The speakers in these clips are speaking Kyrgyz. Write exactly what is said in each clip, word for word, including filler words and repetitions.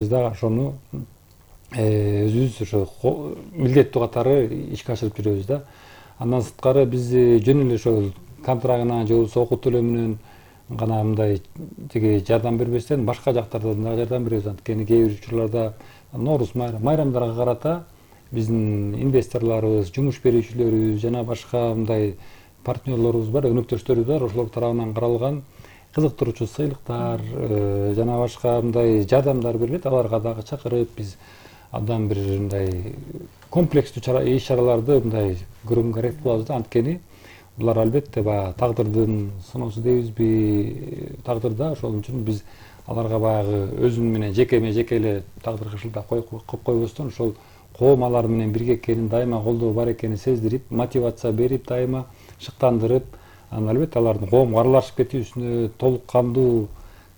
Биз дагы ошону өзүбүз ошо милдеттүү катары ишке ашырып жүрөбүз да. Андан сырткары биз жөн эле ошол контрагына же болбосо окуу төлөө менен гана мындай тиги жардам бербестен башка жактардан дагы жардам беребиз. Анткени кээ бир учурларда Нооруз майрамдарга карата биздин инвесторлорубуз, жумуш берүүчүлөрүбүз жана башка мындай партнерлорубуз бар, өнөктөштөрүбүз бар. Ошолор тарабынан каралган кызыктыруучу сыйлыктар жана башка мындай жардамдар берилет. Аларга дагы чакырып биз абдан бир мындай комплекстүү иш чараларды мындай көргөнгө аракет кылабыз да. Анткени булар албетте баягы тагдырдын сыноосу дейбизби, тагдыр да. Ошол үчүн биз аларга баягы өзүм менен жекеме жеке эле тагдырга шылтак коюп койбостон ошол коом алар менен бирге экенин, дайыма колдоо бар экенин сездирип, мотивация берип, дайыма шыктандырып, анан албетте алардын коомго аралашып кетүүсүнө толук кандуу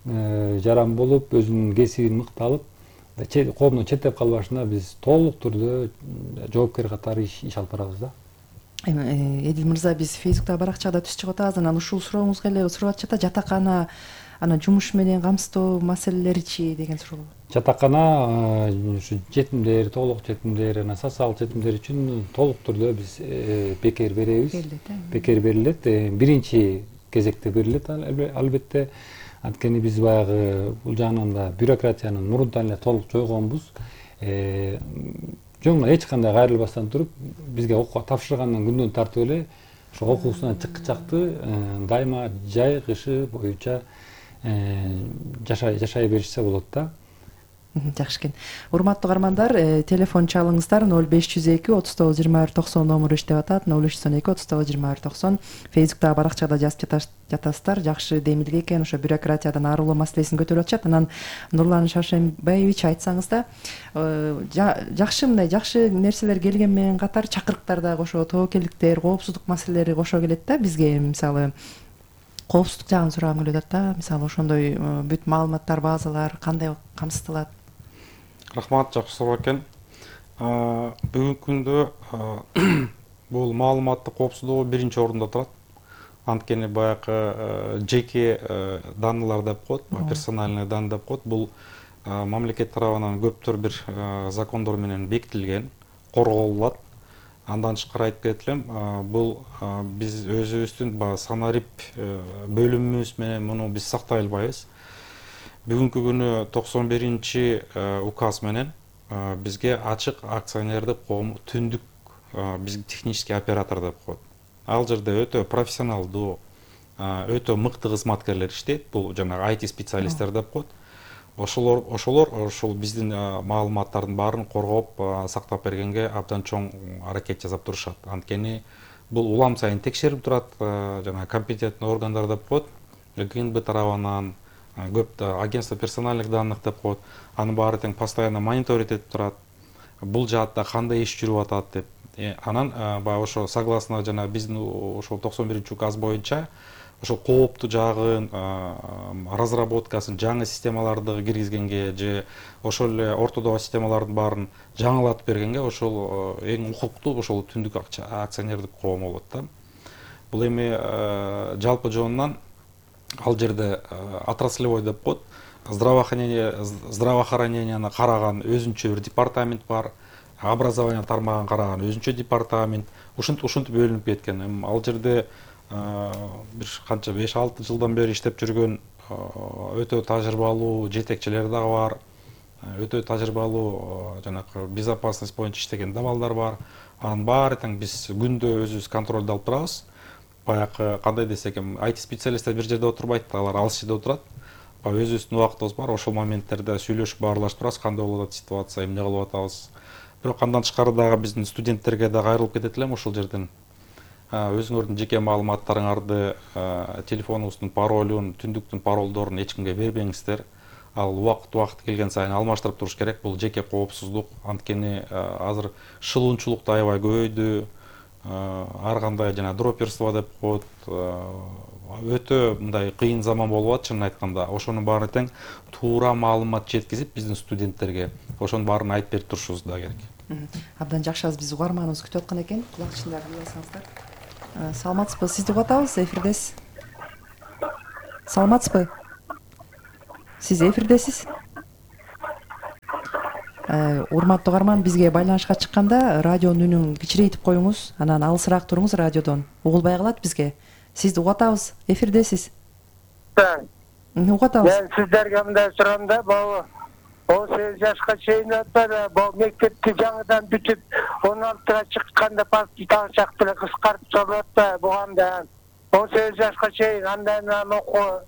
жаран болуп, өзүнүн кесибин мыкты алып, коомдон четтеп калбашына биз толук түрдө жоопкер катары иш алып барабыз да. Эдил мырза, биз Фейсбуктагы баракчага да түз чыгып атабыз. Анан ушул сурооңузга эле сурап атышат да, жатакана анан жумуш менен камсыздоо маселелеричи деген суроо. Жатакана ушу жетимдер, толук жетимдер, анан социалдык жетимдер үчүн толук түрдө биз бекер беребиз. Бекер берилет. Биринчи кезекте берилет албетте. Анткени биз баягы бул жагынан да бюрократиянын мурунтан эле толук жойгонбуз. Жөн эле эч кандай кайрылбастан туруп, бизге окууга тапшыргандан күндөн тартып эле ошо окуусунан чыккычакты дайыма жай кышы боюнча жашай беришсе болот да. Жакшы экен. Урматтуу каармандар, телефон чалыңыздар ноль беш жүз эки отуз тогуз жыйырма бир токсон номуру иштеп атат. ноль үч жүз он эки отуз тогуз жыйырма бир токсон. Фейсбуктагы баракчада жазып жатасыздар. Жакшы демилге экен, ошо бюрократиядан арылуу маселесин көтөрүп атышат. Анан Нурлан Шаршембаевич, айтсаңыз да, жакшы мындай жакшы нерселер келген менен катар чакырыктар дагы ошо тобокелдиктер, коопсуздук маселелери кошо келет да бизге. Мисалы, коопсуздук жагын сурагым келип атат да. Мисалы, ошондой бүт маалыматтар, базалар кандай камсыздалат? Рахмат, жакшы суроо экен. Бүгүнкү күндө бул маалыматтык коопсуздугу биринчи орунда турат. Анткени баягы жеке данныйлар деп коет, персональный данные деп коет. Бул мамлекет тарабынан көптөр бир закондор менен бекитилген, корголот. Андан тышкары айтып кетет элем, бул биз өзүбүздүн баягы санарип бөлүмүбүз менен муну биз сактай албайбыз. Бүгүнкү күнү токсон биринчи указ менен бизге ачык акционердик коом түндүк бизге технический оператор деп коет. Ал жерде өтө профессионалдуу, өтө мыкты кызматкерлер иштейт. Бул жанагы ай ти специалисттер деп коет. Ошолор ошолор ошол биздин маалыматтардын баарын коргоп, сактап бергенге абдан чоң аракет жасап турушат. Анткени бул улам сайын текшерип турат, жана компетентный органдар деп коет. ГНБ тарабынан көп агентство персональных данных деп коет. Анын баары тең постоянно мониторить этип турат. Бул жаатта кандай иш жүрүп атат деп. Анан баягы ошо согласно жана биздин ошол токсон биринчи указ боюнча ошол кооптуу жагын, разработкасын, жаңы системаларды киргизгенге же ошол эле ортодогу системалардын баарын жаңылатып бергенге ошол эң укуктуу ошол түндүк акционердик коом болот да. Бул эми жалпы жонунан ал жерде отраслевой деп коет, здравоохранение здравоохраненияны караган өзүнчө бир департамент бар, образование тармагын караган өзүнчө департамент, ушинтип ушинтип бөлүнүп кеткен. Ал жерде бир канча беш алты жылдан бери иштеп жүргөн өтө тажрыйбалуу жетекчилер дагы бар. Өтө тажрыйбалуу жанагы безопасность боюнча иштеген абалдар бар. Анын баары тең биз күндө өзүбүз контролду алып турабыз. Баягы кандай десек эми ай ти специалисттер бир жерде отурбайт, алар алыс жерде отурат. Өзүбүздүн убактыбыз бар, ошол моменттерде сүйлөшүп баарлашып турабыз, кандай болуп атат ситуация, эмне кылып атабыз. Бирок андан тышкары дагы биздин студенттерге дагы кайрылып кетет элем ошол жерден. Өзүңөрдүн жеке маалыматтарыңарды, телефонуңуздун паролун, түндүктүн паролдорун эч кимге бербеңиздер. Ал убакыт убакыт келген сайын алмаштырып туруш керек. Бул жеке коопсуздук. Анткени азыр шылуунчулук да аябай көбөйдү. Ар кандай жана дроперство деп коет. Өтө мындай кыйын заман болуп атат, чынын айтканда. Ошонун баары тең туура маалымат жеткизип биздин студенттерге ошонун баарын айтып берип турушубуз да керек. Абдан жакшы, биз угарманыбыз күтүп аткан экен. Кулакчындарды кие алсаңыздар. Саламатсызбы? Сизди угуп атабыз, эфирдесиз. Саламатсызбы? Сиз эфирдесиз. Урматтуу угарман, бизге байланышка чыкканда радионун үнүн кичирейтип коюңуз, анан алысыраак туруңуз радиодон. Угулбай калат бизге. Сизди угатабыз, эфирдесиз. Угатабыз. Мен сиздерге мындай сурам да, могу он сегиз жашка чейин өтпөдү, могу мектепти жаңыдан бүтүп, он алтыга чыкканда паспорт алышак деле кыскартып салып атпайбы бугам да. он сегиз жашка чейин андан анан окуу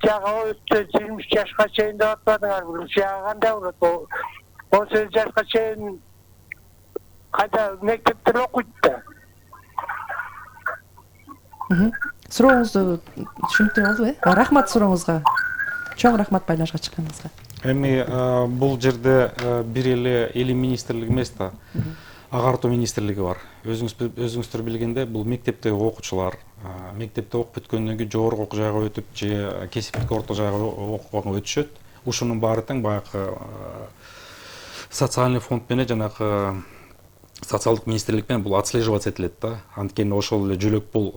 жагы өттү, жыйырма үч жашка чейин деп атпадыңар, бул жагы кандай болот? он сегиз жашка чейин кайда мектепте окуйт да. Сурооңузду түшүнүктүү болдубу, э? Рахмат сурооңузга. Чоң рахмат байланышка чыкканыңызга. Эми бул жерде бир эле илим министрлиги эмес да, агартуу министрлиги бар. Өзүңүз өзүңүздөр билгендей, бул мектептеги окуучулар, мектепте окуп бүткөндөн кийин жогорку окуу жайга өтүп же кесиптик орто жайга окууга өтүшөт. Ушунун баары тең баягы социальный фонд менен жанагы социалдык министрлик менен бул отслеживаться этилет да. Анткени ошол эле жөлөк бул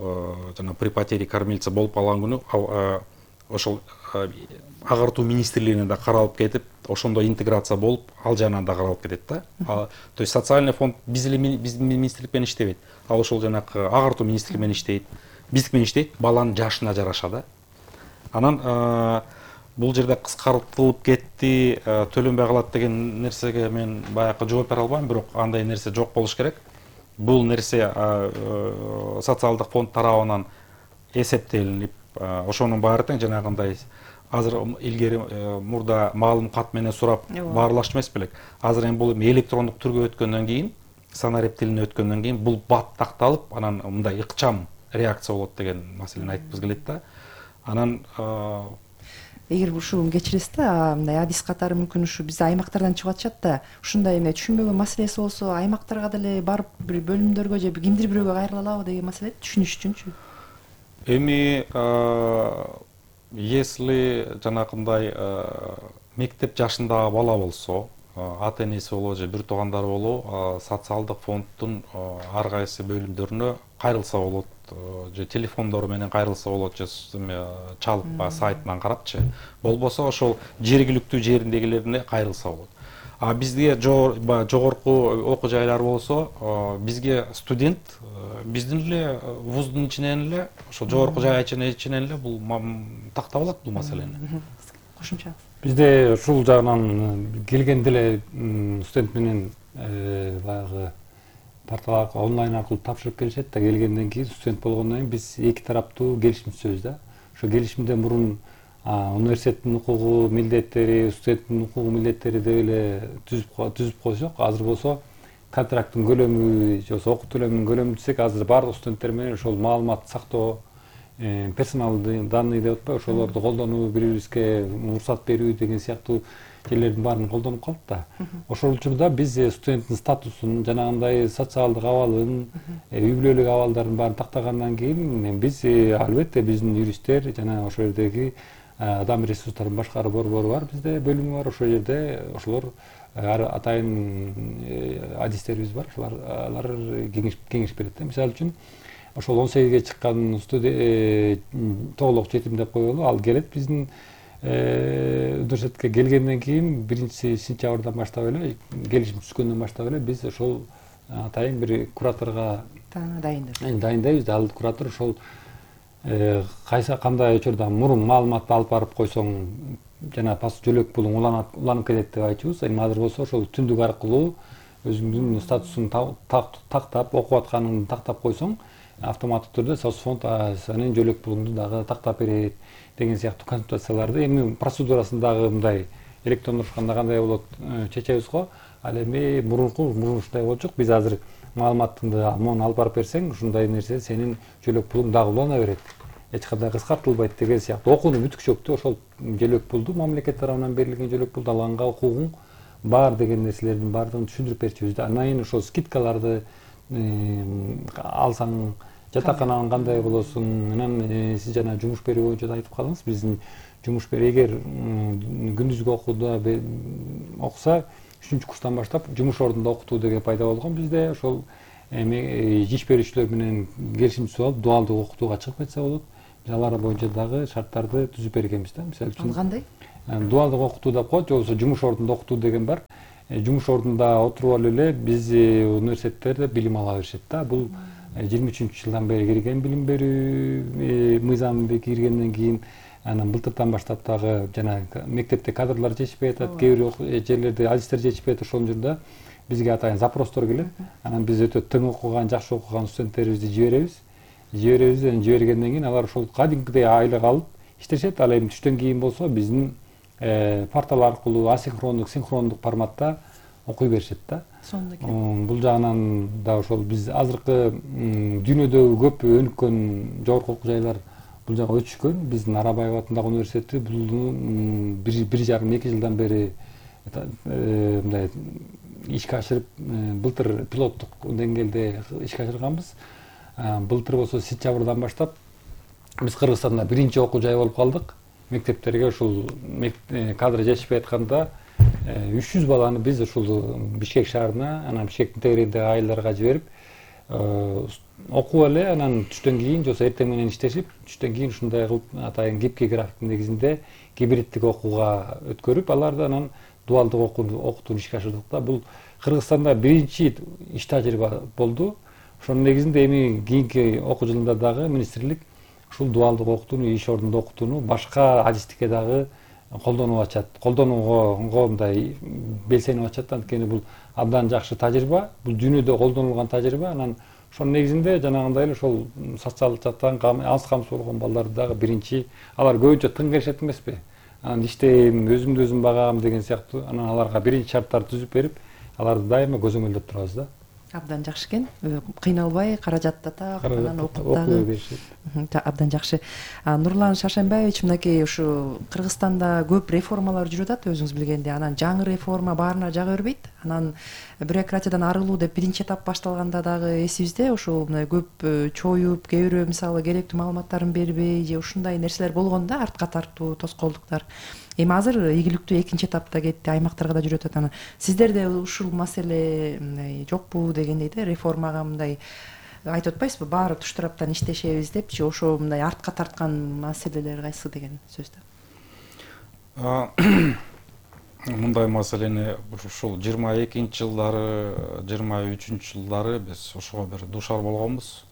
жана при потере кормильца болуп калган күнү ошол агартуу министрлигине да каралып кетип, ошондой интеграция болуп, ал жагынан да каралып кетет да. То есть социальный фонд биз эле биз министрлик менен иштебейт. Ал ошол жанагы агартуу министрлиги менен иштейт. Биздик менен иштейт, баланын жашына жараша да. Анан бул жерде кыскартылып кетти, төлөнбөй калат деген нерсеге мен баягы жооп бере албайм, бирок андай нерсе жок болуш керек. Бул нерсе социалдык фонд тарабынан эсептелинип, ошонун баары тең жанагындай азыр илгери мурда маалым кат менен сурап баарлашчу эмес белек. Азыр эми бул электрондук түргө өткөндөн кийин, санарип тилине өткөндөн кийин бул бат такталып, анан мындай ыкчам реакция болот деген маселени айткыбыз келет да. Анан эгер ушуну кечиресиз да, мындай адис катары мүмкүн ушу биз аймактардан чыгып атышат да, ушундай эме түшүнбөгөн маселеси болсо аймактарга деле барып бир бөлүмдөргө же кимдир бирөөгө кайрыла алабы деген маселе түшүнүш үчүнчү. Эми если жанагындай мектеп жашындагы бала болсо, ата энеси болобу же бир туугандары болобу, социалдык фонддун ар кайсы бөлүмдөрүнө кайрылса болот, же телефондору менен кайрылса болот, же чалып сайтынан карапчы. Болбосо ошол жергиликтүү жериндегилерине кайрылса болот. А бизге жогорку окуу жайлар болсо, бизге студент биздин эле вуздун ичинен эле, ошо жогорку жай ичинен эле бул тактап алат бул маселени. Кошумча. Бизде ушул жагынан келгенде эле студент менен баягы портал аркылуу онлайн аркылуу тапшырып келишет да, келгенден кийин студент болгондон кийин биз эки тараптуу келишим түзөбүз да. Ошо келишимде мурун университеттин укугу, милдеттери, студенттин укугу, милдеттери деп эле түзүп түзүп койсок, азыр болсо контракттын көлөмү же болбосо окуу төлөмүнүн көлөмүн түзсөк, азыр баардык студенттер менен ошол маалымат сактоо, персоналдык данные деп атпайбы, ошолорду колдонуу, бири бирибизге уруксат берүү деген сыяктуу жерлердин баарын колдонуп калат да. Ошол учурда биз студенттин статусун, жанагындай социалдык абалын, үй бүлөлүк абалдарын баарын тактагандан кийин биз албетте биздин юристтер жана ошол жердеги адам ресурстарын башкаруу борбору бар, бизде бөлүмү бар, ошол жерде ошолор атайын адистерибиз бар, ошолар алар кеңеш берет. Мисалы үчүн ошол он сегизге чыккан студент тоголок жетим деп коелу, ал келет биздин университетке келгенден кийин биринчи сентябрдан баштап эле, келишим түзгөндөн баштап эле биз ошол атайын бир кураторго дайындайбыз. Дайындайбыз. Ал куратор ошол кайсы кандай учурда мурун маалыматты алып барып койсоң жана пас жөлөк пулуң уланып кетет деп айтчубуз. Эми азыр болсо ошол түндүк аркылуу өзүңдүн статусуң тактап, окуп атканыңды тактап койсоң, автоматтык түрдө соцфонд сенин жөлөк пулуңду дагы тактап берет деген сыяктуу консультацияларды эми процедурасын дагы мындай электрондошкондо кандай болот чечебиз го. Ал эми мурунку мурун ушундай болчук. Биз азыр маалыматыңды мону алып барып берсең, ушундай нерсе сенин жөлөк пулуң дагы улана берет. Эч кандай кыскартылбайт деген сыяктуу окууну бүткүчөктү ошол жөлөк пулду мамлекет тарабынан берилген жөлөк пулду алганга укугуң бар деген нерселердин баардыгын түшүндүрүп берчүбүз да. Андан кийин ошол скидкаларды алсаң, жатакананын кандай болосуң, анан сиз жана жумуш берүү боюнча да айтып калдыңыз. Биздин жумуш берүү эгер күндүзгү окууда окуса, үчүнчү курстан баштап жумуш ордунда окутуу деген пайда болгон. Бизде ошол эми иш берүүчүлөр менен келишим түзүп алып, дуалдык окутууга чыгып кетсе болот. Биз алар боюнча дагы шарттарды түзүп бергенбиз да. Мисалы үчүн кандай? Дуалдык окутуу деп коет, же болбосо жумуш ордунда окутуу деген бар. жумуш ордунда отуруп алып эле биз университеттерде билим ала беришет да. Бул жыйырма үчүнчү жылдан бери кирген билим берүү мыйзамы киргенден кийин анан былтырдан баштап дагы жана мектепте кадрлар жетишпей атат, кээ бир жерлерде адистер жетишпей атат. Ошол жерде бизге атайын запростор келет. Анан биз өтө тың окуган, жакшы окуган студенттерибизди жиберебиз. Жиберебиз, жибергенден кийин алар ошол кадимкидей айлык алып иштешет. Ал эми түштөн кийин болсо биздин портал аркылуу асинхрондук, синхрондук форматта окуй беришет да. Сонун экен. Бул жагынан да ошол биз азыркы дүйнөдө көп өнүккөн жогорку окуу жайлар бул жака өтүшкөн. Биздин Арабаев атындагы университети бул бир жарым эки жылдан бери мындай ишке ашырып, былтыр пилоттук деңгээлде ишке ашырганбыз. Былтыр болсо сентябрдан баштап биз Кыргызстанда биринчи окуу жай болуп калдык. Мектептерге ушул кадр жетишпей атканда үч жүз баланы биз ушул Бишкек шаарына, анан Бишкектин тегерегиндеги айылдарга жиберип окуп эле, анан түштөн кийин же болбосо эртең менен иштешип, түштөн кийин ушундай кылып атайын гибкий графиктин негизинде гибридтик окууга өткөрүп, аларды анан дуалдык окутууну ишке ашырдык да. Бул Кыргызстанда биринчи иш тажрыйба болду. Ошонун негизинде эми кийинки окуу жылында дагы министрлик ушул дуалдык окутууну, иш ордунда окутууну башка адистикке дагы колдонуп атышат. Колдонууга мындай белсенип атышат. Анткени бул абдан жакшы тажрыйба, бул дүйнөдө колдонулган тажрыйба. Анан ошонун негизинде жанагындай эле ошол социалдык жактан аз камсыз болгон балдарды дагы биринчи, алар көбүнчө тың келишет эмеспи? Анан иштейм, өзүмдү өзүм багам деген сыяктуу, анан аларга биринчи шарттарды түзүп берип, аларды дайыма көзөмөлдөп турабыз да. Абдан жакшы экен. Кыйналбай, каражат да так, анан окуп дагы абдан жакшы. Нурлан Шашенбаевич, мынакей ушу Кыргызстанда көп реформалар жүрүп атат, өзүңүз билгендей. Анан жаңы реформа баарына жага бербейт. Анан бюрократиядан арылуу деп биринчи этап башталганда дагы эсибизде, ошол мындай көп чоюп, кээ бирөө мисалы керектүү маалыматтарын бербей же ушундай нерселер болгон да, артка тартуу, тоскоолдуктар. Эми азыр ийгиликтүү экинчи этапта кетти, аймактарга да жүрүп атат. Анан сиздерде ушул маселе мындай жокпу дегендей да, реформага мындай айтып атпайсызбы, баары туш тараптан иштешебиз депчи, ошо мындай артка тарткан маселелер кайсы деген сөздө? Мындай маселени ушул жыйырма экинчи жылдары, жыйырма үчүнчү жылдары биз ошого бир дуушар болгонбуз.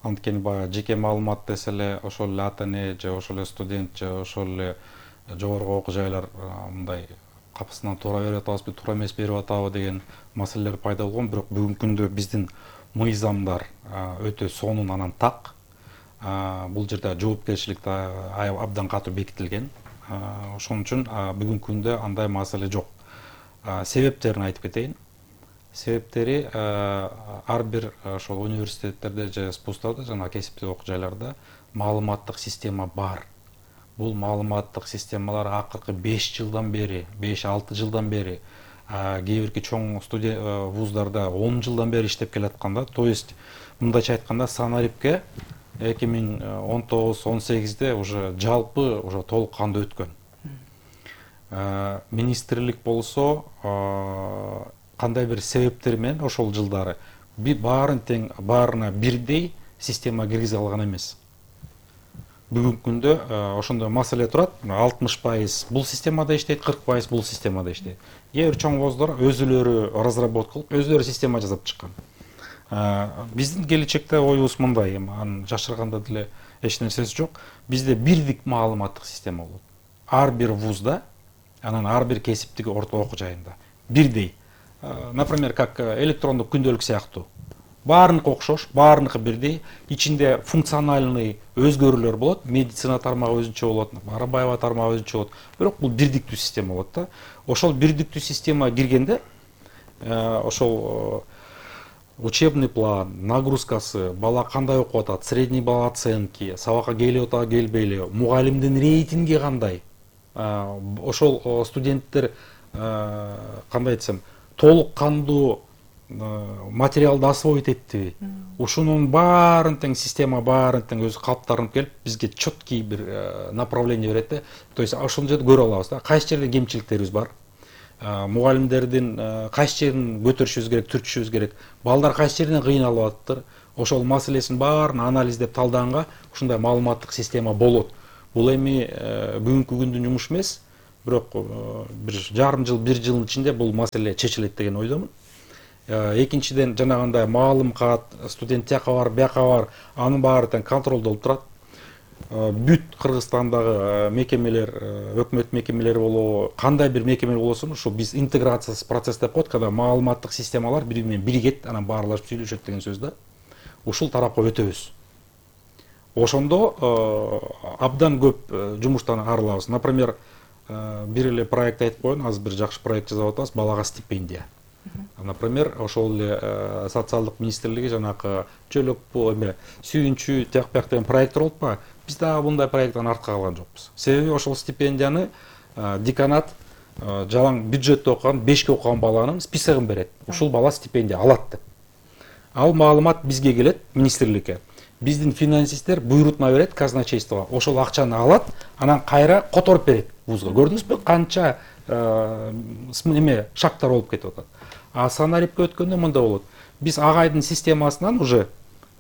Анткени баягы жеке маалымат десе эле ошол эле ата эне же ошол эле студент же ошол эле жогорку окуу жайлар мындай капысынан туура берип атабызбы, туура эмес берип атабы деген маселелер пайда болгон. Бирок бүгүнкү күндө биздин мыйзамдар өтө сонун, анан так. Бул жерде жоопкерчилик да абдан катуу бекитилген. Ошон үчүн бүгүнкү күндө андай маселе жок. Себептерин айтып кетейин. Себептери ар бир ошол университеттерде же спустарда, жана кесиптик окуу жайларда маалыматтык система бар. Бул маалыматтык системалар акыркы беш жылдан бери, беш алты жылдан бери, кээ бирки чоң студент вуздарда он жылдан бери иштеп келатканда, то есть мындайча айтканда Санарипке эки миң он тогуз он сегизде уже жалпы уже толук кандуу өткөн. Министрлик болсо кандай бир себептер менен ошол жылдары баарын тең, баарына бирдей система киргизе алган эмес. Бүгүнкү күндө ошондой маселе турат. алтымыш пайыз бул системада иштейт, кырк пайыз бул системада иштейт. Кээ бир чоң вуздар өзүлөрү разработка кылып, өзүлөрү система жасап чыккан. Биздин келечекте оюбуз мындай, анын жашырганда деле эч нерсеси жок. Бизде бирдик маалыматтык система болот. Ар бир вузда, анан ар бир кесиптик орто окуу жайында бирдей. Например, как электрондук күндөлүк сыяктуу. Баарыныкы окшош, баарыныкы бирдей. Ичинде функциональный өзгөрүүлөр болот. Медицина тармагы өзүнчө болот, Арабаева тармагы өзүнчө болот. Бирок бул бирдиктүү система болот да. Ошол бирдиктүү система киргенде ошол учебный план, нагрузкасы, бала кандай окуп атат, средний балл оценки, сабакка келип атабы, келбейли, мугалимдин рейтинги кандай. Ошол студенттер кандай айтсам, толук кандуу материалды освоить эттиби? Ушунун баарын тең система баарын тең өзү калыптарынып келип, бизге четкий бир направление берет да. То есть ошол жерде көрө алабыз да, кайсы жерде кемчиликтерибиз бар. Мугалимдердин кайсы жерин көтөрүшүбүз керек, түртүшүбүз керек. Балдар кайсы жерден кыйналып атыптыр. Ошол маселесин баарын анализдеп талдаганга ушундай маалыматтык система болот. Бул эми бүгүнкү күндүн жумушу эмес. бирок бир жарым жыл бир жылдын ичинде бул маселе чечилет деген ойдомун. Экинчиден жанагындай маалым кат, студент тияка бар, бияка бар, анын баары тең контролдолуп турат. Бүт Кыргызстандагы мекемелер, өкмөт мекемелери болобу, кандай бир мекеме болсун, ушу биз интеграциясыз процесс деп коет, когда маалыматтык системалар бири менен биригет, анан баарлашып сүйлөшөт деген сөз да. Ушул тарапка өтөбүз. Ошондо абдан көп жумуштан арылабыз. Например, бир эле проект айтып коеюн, азыр бир жакшы проект жасап атабыз, балага стипендия. Например, ошол эле социалдык министрлиги жанакы чөлөк эме сүйүнчү тияк бияк деген проекттер болуп па, биз дагы мындай проекттен артка калган жокпуз. Себеби ошол стипендияны деканат жалаң бюджетте окуган, бешке окуган баланын списогун берет. Ушул бала стипендия алат деп. Ал маалымат бизге келет, министрликке. Биздин финансисттер буйрутма берет казначействого. Ошол акчаны алат, анан кайра которуп берет вузга. Көрдүңүзбү, канча эме шактар болуп кетип атат. А санарипке өткөндө мындай болот. Биз агайдын системасынан уже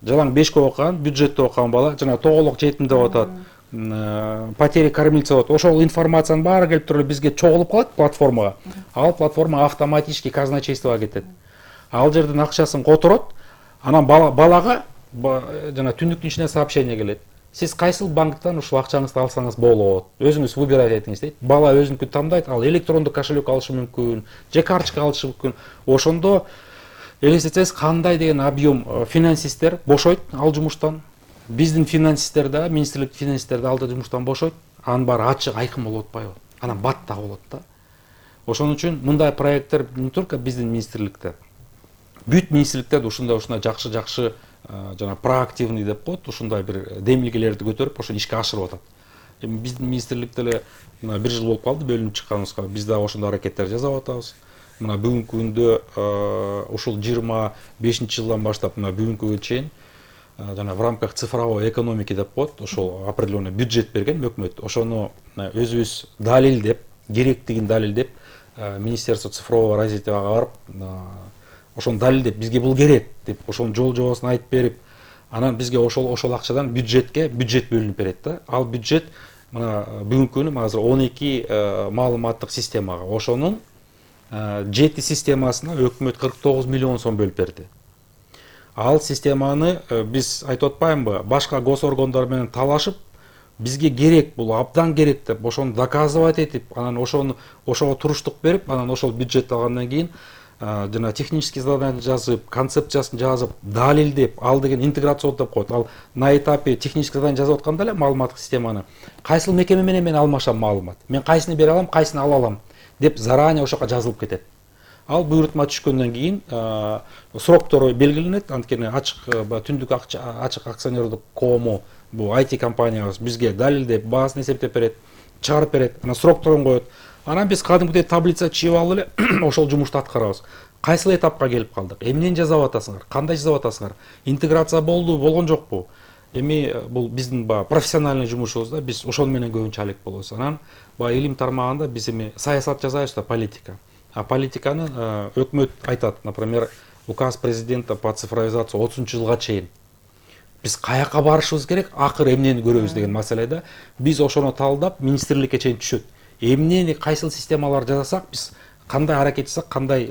жалаң бешке окуган, бюджетте окуган бала, жана тоголок жетим деп атат, потери кормильца болот. Ошол информациянын баары келип туруп бизге чогулуп калат платформага. Ал платформа автоматически казначействого кетет. Ал жерден акчасын которот, анан балага жана түндүктүн ичине сообщение келет. Сиз кайсыл банктан ушул акчаңызды алсаңыз болот, өзүңүз выбирать этиңиз дейт. Бала өзүнүкүн тандайт, ал электрондук кошелек алышы мүмкүн, же карточка алышы мүмкүн. Ошондо элестетсеңиз кандай деген объем финансисттер бошойт ал жумуштан. Биздин финансисттер да, министрлик финансисттер да алда жумуштан бошойт. Анын баары ачык, айкын болуп атпайбы? Анан бат да болот да. Ошон үчүн мындай проекттер не только биздин министрликте, бүт министрликтерде ушундай ушундай жакшы-жакшы жана проактивный деп коет, ушундай бир демилгелерди көтөрүп, ошону ишке ашырып атат. Эми биздин министрликте эле мына бир жыл болуп калды бөлүнүп чыкканыбызга. Биз да ошондой аракеттер жасап атабыз. Мына бүгүнкү күндө ушул жыйырма бешинчи жылдан баштап мына бүгүнкүгө чейин жана в рамках цифровой экономики деп коет, ошол определенный бюджет берген өкмөт. Ошону өзүбүз далилдеп, керектигин далилдеп, Министерство цифрового развитияга барып, ошону далилдеп, бизге бул керек деп, ошонун жол жобосун айтып берип, анан бизге ошол ошол акчадан бюджетке бюджет бөлүнүп берет да. Ал бюджет мына бүгүнкү күнү азыр он эки маалыматтык системага, ошонун жети системасына өкмөт кырк тогуз миллион сом бөлүп берди. Ал системаны биз айтып атпаймынбы, башка госоргандар менен талашып, бизге керек, бул абдан керек деп, ошону доказывать этип, анан ошону ошого туруштук берип, анан ошол бюджет алгандан кийин жана технический задание жазып, концепциясын жазып, далилдеп, ал деген интеграцион деп коет. Ал на этапе технический задание жазып атканда эле маалыматтык системаны кайсыл мекеме менен мен алмашам маалымат, мен кайсыны бере алам, кайсыны ала алам деп заранее ошоко жазылып кетет. Ал буйрутма түшкөндөн кийин сроктору белгиленет, анткени ачык түндүк ачык акционердик коому, бул ай ти компаниябыз бизге далилдеп, баасын эсептеп берет, чыгарып берет, анан срокторун коет. Анан биз кадимгидей таблица чыгып алып эле ошол жумушту аткарабыз. Кайсыл этапка келип калдык? Эмнени жасап атасыңар? Кандай жасап атасыңар? Интеграция болду, болгон жокпу? Эми бул биздин баягы профессиональный жумушубуз да, биз ошол менен көбүнчө алек болобуз. Анан баягы илим тармагында биз эми саясат жасайбыз да, политика. А политиканы өкмөт айтат, например, указ президента по цифровизации отузунчу жылга чейин. Биз каяка барышыбыз керек, акыр эмнени көрөбүз деген маселеде биз ошону талдап министрликке чейин түшөт. Эмнени кайсыл системалар жасасак, биз кандай аракет жасасак, кандай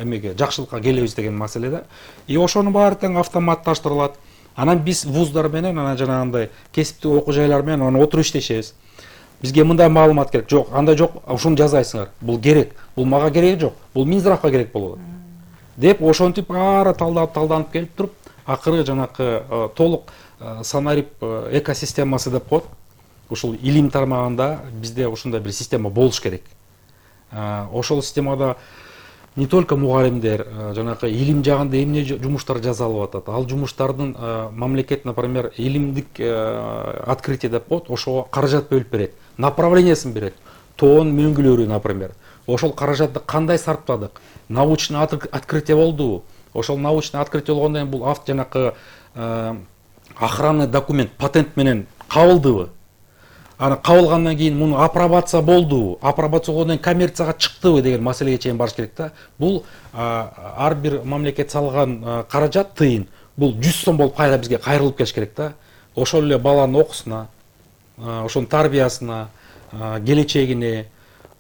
эмеге жакшылыкка келебиз деген маселеде. И ошонун баары тең автоматташтырылат. Анан биз вуздар менен, анан жанагындай кесиптик окуу жайлар менен анан отуруп иштешебиз. Бизге мындай маалымат керек. Жок, андай жок, ушуну жазайсыңар. Бул керек. Бул мага кереги жок. Бул Минздравга керек болот. Деп ошентип баары талданып, талданып келип туруп, акыры жанакы толук санарип экосистемасы деп коет. Ушул илим тармагында бизде ушундай бир система болуш керек. Ошол системада не только мугалимдер, жанакы илим жагында эмне жумуштар жасалып атат. Ал жумуштардын мамлекет, например, илимдик открытие деп коет, ошого каражат бөлүп берет, направлениясын берет. Тоон мөңгүлөрү, например. Ошол каражатты кандай сарптадык? Научный открытие болдубу? Ошол научный открытие болгондон кийин бул авт жанакы охранный документ, патент менен кабылдыбы? Аны кабылгандан кийин муну апробация болдубу, апробация болгондон кийин коммерцияга чыктыбы деген маселеге чейин барыш керек да. Бул ар бир мамлекет салган каражат тыйын, бул жүз сом болуп кайра бизге кайрылып келиш керек да. Ошол эле баланын окуусуна, ошонун тарбиясына, келечегине,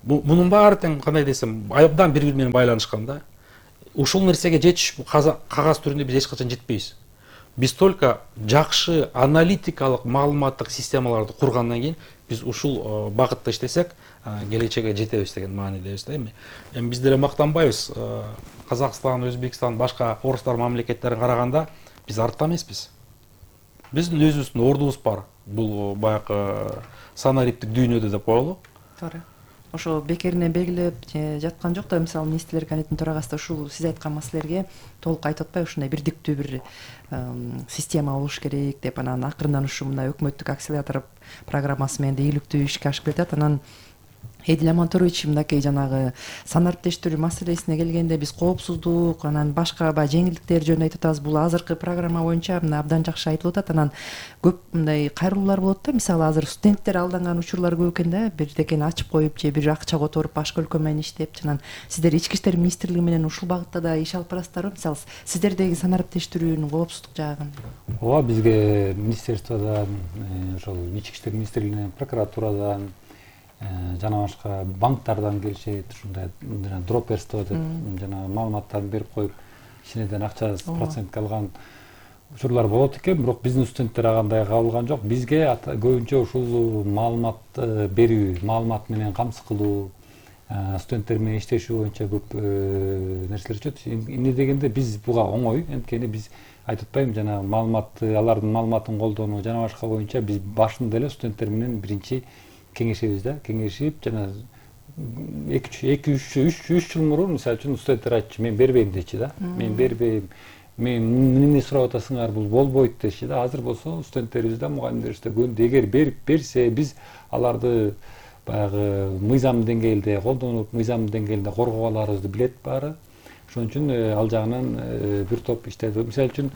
Мунун баары тең кандай десем, абдан бири-бири менен байланышкан да. Ушул нерсеге жетиш кагаз түрүндө биз эч качан жетпейбиз. Биз только жакшы аналитикалык маалыматтык системаларды кургандан кийин биз ушул багытта иштесек, келечекке жетебиз деген маанидебиз да эми. Эми биз деле мактанбайбыз. Казакстан, Өзбекстан, башка орустар мамлекеттерине караганда биз артта эмеспиз. Биздин өзүбүздүн ордубуз бар. Бул баягы санариптик дүйнөдө деп коелу. Туура. Ошо бекеринен белгилеп жаткан жок да, мисалы министрлер комитетинин төрагасы ушул сиз айткан маселелерге толук айтып атпайбы, ушундай бирдиктүү бир система болуш керек деп, анан акырындан ушу мындай өкмөттүк акселератор программасы менен ийгиликтүү ишке ашып келатат. Анан Эдил Аманторович мынакей жанагы санариптештирүү маселесине келгенде биз коопсуздук, анан башка баягы жеңилдиктер жөнүндө айтып атабыз. Бул азыркы программа боюнча мына абдан жакшы айтылып атат. Анан көп мындай кайрылуулар болот да. Мисалы азыр студенттер алданган учурлар көп экен да. Бирдекени ачып коюп же бир акча которуп башка өлкө менен иштеп, анан сиздер Ички иштер министрлиги менен ушул багытта да иш алып барасыздарбы? Мисалы сиздердеги санариптештирүүнүн коопсуздук жагын. Ооба, бизге министерстводон, ошол Ички иштер министрлигинен, прокуратурадан жана башка банктардан келишет, ушундай жана дроперство деп жана маалыматтарын берип коюп, ичинен акча процентке алган учурлар болот экен. Бирок биздин студенттер андай кабылган жок. Бизге көбүнчө ушул маалымат берүү, маалымат менен камсыз кылуу, студенттер менен иштешүү боюнча көп нерселер өтөт. Эмне дегенде биз буга оңой, анткени биз айтып атпайбымбы, жана маалыматты, алардын маалыматын колдонуу жана башка боюнча биз башында эле студенттер менен биринчи кеңешебиз да, кеңешип жана эки үч жыл мурун мисалы үчүн студенттер айтчу, мен бербейм дечи да. Мен бербейм. Мен эмне сурап атасыңар, бул болбойт деши да. Азыр болсо студенттерибиз да, мугалимдерибиз да көндү. Эгер берип берсе, биз аларды баягы мыйзам деңгээлде колдонуп, мыйзам деңгээлде коргоо аларыбызды билет баары. Ошон үчүн ал жагынан бир топ иштеди. Мисалы үчүн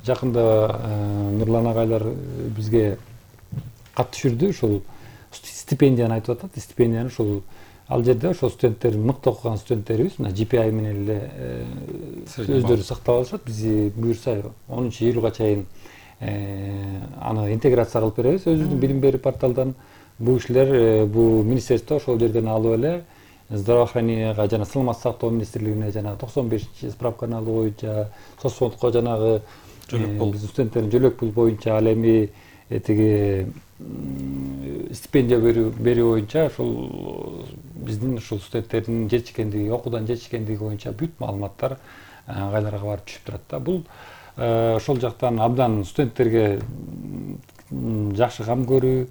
жакында Нурлан агайлар бизге кат түшүрдү, ушул стипендияны айтып атат. Стипендияны ушул ал жерде ошол студенттер, мыкты окуган студенттерибиз мына джи пи ай менен эле өздөрү сактап алышат. Биз буюрса онунчу июлга чейин аны интеграция кылып беребиз өзүбүздүн билим берүү порталдан. Бул кишилер, бул министерство ошол жерден алып эле здравоохраненияга жана саламаттык сактоо министрлигине жана токсон бешинчи справканы алуу боюнча, соцфондко жанагы биздин студенттердин жөлөк пул боюнча, ал эми тиги стипендия берүү боюнча ошол биздин ушул студенттердин жетишкендиги, окуудан жетишкендиги боюнча бүт маалыматтар кайларга барып түшүп турат да. Бул ошол жактан абдан студенттерге жакшы кам көрүү,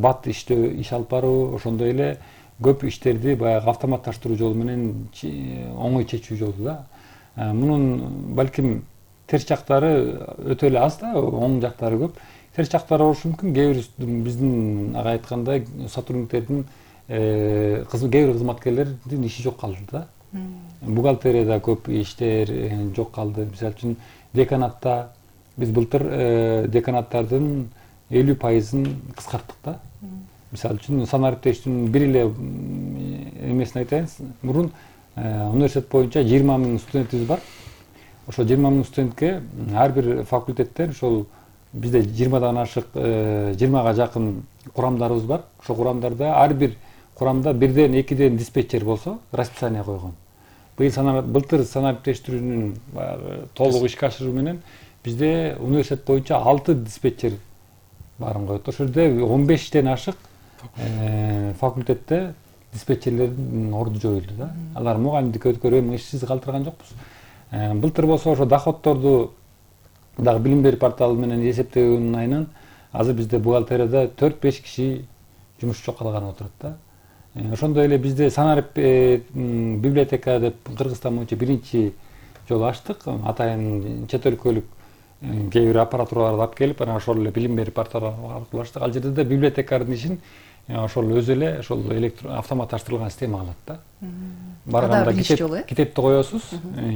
бат иштөө, иш алып баруу, ошондой эле көп иштерди баягы автоматташтыруу жолу менен оңой чечүү жолу да. Мунун балким терс жактары өтө эле аз да, оң жактары көп. Терс жактары болушу мүмкүн. Кээ бир биздин ага айткандай сотрудниктердин кээ бир кызматкерлердин иши жок калды да. Бухгалтерияда көп иштер жок калды. Мисалы үчүн деканатта биз былтыр деканаттардын элүү пайызын кыскарттык да. Мисалы үчүн санариптештүүнүн бир эле эмесин айтайын. Мурун университет боюнча жыйырма миң студентибиз бар. Ошо жыйырма миң студентке ар бир факультеттен ошол бизде жыйырмадан ашык, жыйырмага жакын курамдарыбыз бар. Ошол курамдарда ар бир курамда бирден экиден диспетчер болсо, расписание койгон. Былтыр санариптештирүүнүн толук ишке ашыруу менен бизде университет боюнча алты диспетчер барын коет. Ошол жерде он бештен ашык факультетте диспетчерлердин орду жоюлду да. Алар мугалимдикке өткөрүп ишсиз калтырган жокпуз. Былтыр болсо ошо доходторду дагы билим берүү порталы менен эсептөөнүн айынан азыр бизде бухгалтерияда төрт беш киши жумушчу калган отурат да. Ошондой эле бизде санарип библиотека деп Кыргызстан боюнча биринчи жолу ачтык. Атайын чет өлкөлүк кээ бир аппаратураларды алып келип, анан ошол эле билим берүү порталы аркылуу ачтык. Ал жерде да библиотекардын ишин ошол өзү эле ошол автоматташтырылган система кылат да. Барганда китепти коесуз,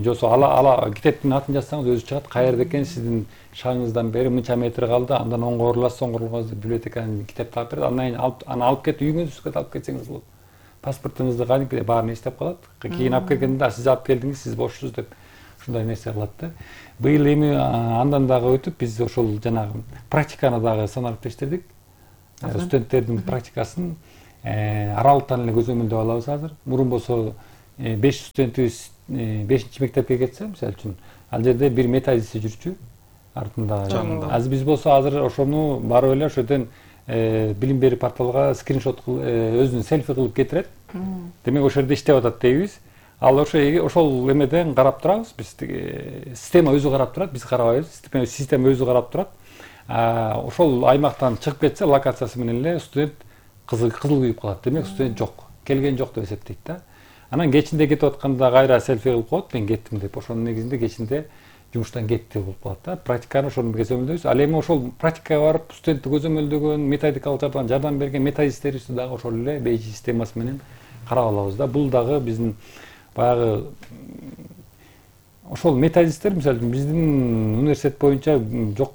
жосо ала ала китептин атын жазсаңыз өзү чыгат, каерде экен, сиздин шагыңыздан бери мынча метр калды, андан оңго буруласыз, оңго буруласыз деп библиотеканын китепти алып берет. Андан кийин аны алып кетип үйүңүзгө алып кетсеңиз болот. Паспортуңузду кадимки баарын эстеп калат. Кийин алып келгенде сиз алып келдиңиз, сиз бошсуз деп ушундай нерсе кылат да. Быйыл эми андан дагы өтүп биз ошол жанагы практиканы дагы санариптештирдик. Студенттердин практикасын аралыктан эле көзөмөлдөп алабыз азыр. Мурун болсо беш студентибиз бешинчи мектепке кетсе, мисалы үчүн, ал жерде бир методист жүрчү артында. Азыр биз болсо азыр ошону барып эле ошол жерден билим берүү порталга скриншот өзүнүн селфи кылып кетирет. Демек ошол жерде иштеп атат дейбиз. Ал ошо ошол эмеден карап турабыз. Биз система өзү карап турат, биз карабайбыз. Система өзү карап турат. Ошол аймактан чыгып кетсе, локациясы менен эле студент кызыл күйүп калат. Демек студент жок, келген жок деп эсептейт да. Анан кечинде кетип атканда кайра селфи кылып коет, мен кеттим деп. Ошонун негизинде кечинде жумуштан кетти болуп калат да. Практиканы ошону көзөмөлдөйбүз. Ал эми ошол практикага барып студентти көзөмөлдөгөн, методикалык жардам жардам берген методисттерибизди дагы ошол эле бейжи системасы менен карап алабыз да. Бул дагы биздин баягы ошол методисттер, мисалы үчүн биздин университет боюнча жок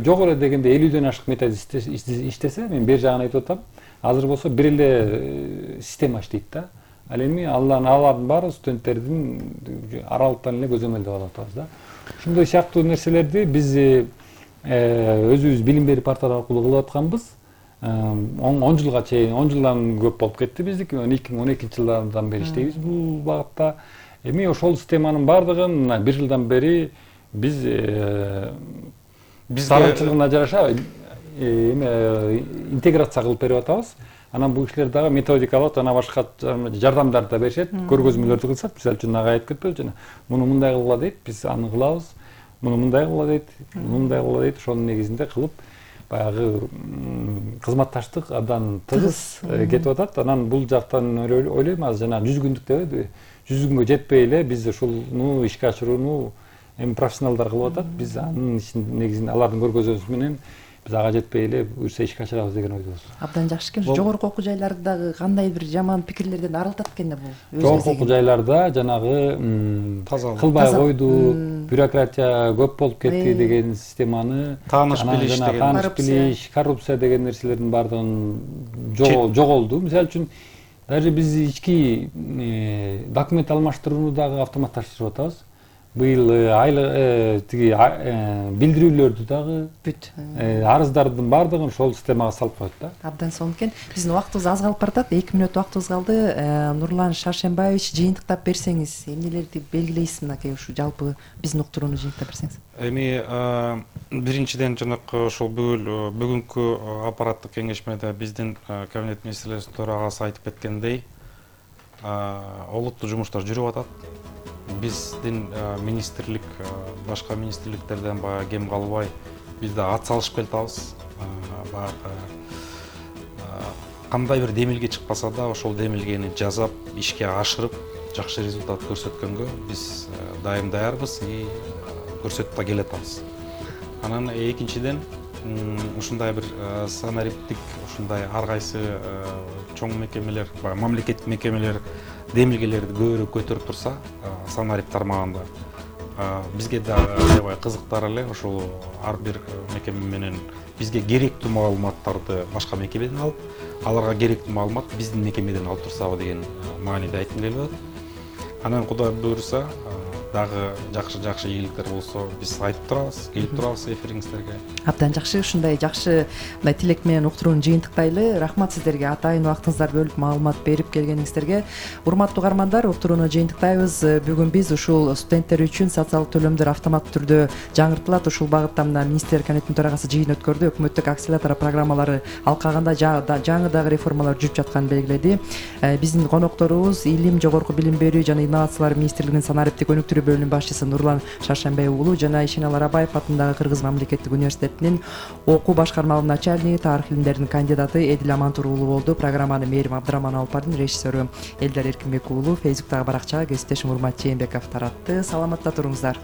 жок эле дегенде элүүдөн ашык методист иштесе, мен бер жагын айтып атам. Азыр болсо бир эле система иштейт да. Ал эми алардын алардын баары студенттердин аралыктан эле көзөмөлдөп алып атабыз да. Ушундай сыяктуу нерселерди биз өзүбүз билим берүү порталы аркылуу кылып атканбыз. он жылга чейин, он жылдан көп болуп кетти биздики. эки миң он экинчи жылдардан бери иштейбиз бул багытта. Эми ошол системанын баардыгын бир жылдан бери биз биз дарынчылыгына жараша эме интеграция кылып берип атабыз. Анан бул кишилер дагы методикалык жана башка жардамдарды да беришет, көргөзмөлөрдү кылышат. Мисалы үчүн ага айтып кетпедиби жана муну мындай кылгыла дейт, биз аны кылабыз. Муну мындай кылгыла дейт, мындай кылгыла дейт. Ошонун негизинде кылып баягы кызматташтык абдан тыгыз кетип атат. Анан бул жактан ойлойм, азыр жана жүз күндүк дебейби, жүз күнгө жетпей эле биз ушуну ишке ашырууну эми профессионалдар кылып атат. Биз анын негизинде алардын көргөзмөсү менен биз ага жетпей эле буюрса ишке ашырабыз деген ойдобуз. Абдан жакшы экен. Жогорку окуу жайларды дагы кандай бир жаман пикирлерден арылтат экен да бул. Жогорку окуу жайларда жанагы кылбай койду, бюрократия көп болуп кетти деген системаны, тааныш билиш деген, тааныш билиш, коррупция деген нерселердин баардыгын жоголду. Мисалы үчүн даже биз ички документ алмаштырууну дагы автоматташтырып атабыз. Быйыл айлык тиги билдирүүлөрдү дагы бүт арыздардын баардыгын ошол системага салып коет да. Абдан сонун экен. Биздин убактыбыз аз калып баратат. эки мүнөт убактыбыз калды. Нурлан Шаршембаевич, жыйынтыктап берсеңиз, эмнелерди белгилейсиз мынакей ушу жалпы биздин уктурууну жыйынтыктап берсеңиз? Эми биринчиден жанакы ошол бүгүнкү аппараттык кеңешмеде биздин кабинет министрлеринин төрагасы айтып кеткендей, олуттуу жумуштар жүрүп атат. Биздин министрлик башка министрликтерден баягы кем калбай биз да ат салышып келатабыз. Баягы кандай бир демилге чыкпаса да ошол демилгени жасап, ишке ашырып, жакшы результат көрсөткөнгө биз дайым даярбыз и көрсөтүп да келатабыз. Анан экинчиден ушундай бир санариптик, ушундай ар кайсы чоң мекемелер, мамлекеттик мекемелер демилгелерди көбүрөөк көтөрүп турса, санарип тармагында бизге дагы аябай кызыктар эле ошол ар бир мекеме менен бизге керектүү маалыматтарды башка мекемеден алып, аларга керектүү маалымат биздин мекемеден алып турсабы деген мааниде айткым келип атат. Анан Кудай буйруса дагы жакшы-жакшы ийгиликтер болсо биз айтып турабыз, келип турабыз эфириңиздерге. Абдан жакшы, ушундай жакшы мындай тилек менен уктурууну жыйынтыктайлы. Рахмат сиздерге атайын убактыңыздарды бөлүп маалымат берип келгениңиздерге. Урматтуу угармандар, уктурууну жыйынтыктайбыз. Бүгүн биз ушул студенттер үчүн социалдык төлөмдөр автоматтуу түрдө жаңыртылат. Ушул багытта мына министрлер кабинетинин төрагасы жыйын өткөрдү. Өкмөттүк акселератор программалары алкагында жаңы дагы реформалар жүрүп жатканын белгиледи. Биздин конокторубуз Илим, жогорку билим берүү жана инновациялар министрлигинин санариптик өнүктүрүү бөлүмүнүн башчысы Нурлан Шаршембай уулу жана Ишенал Арабаев атындагы Кыргыз мамлекеттик университетинин окуу башкармалыгынын начальниги, тарых илимдеринин кандидаты Эдил Амантур уулу болду. Программаны Мээрим Абдыраман алып бардым, режиссеру Элдар Эркинбек уулу, Фейсбуктагы баракчага кесиптешим Урмат Жээнбеков таратты. Саламатта туруңуздар.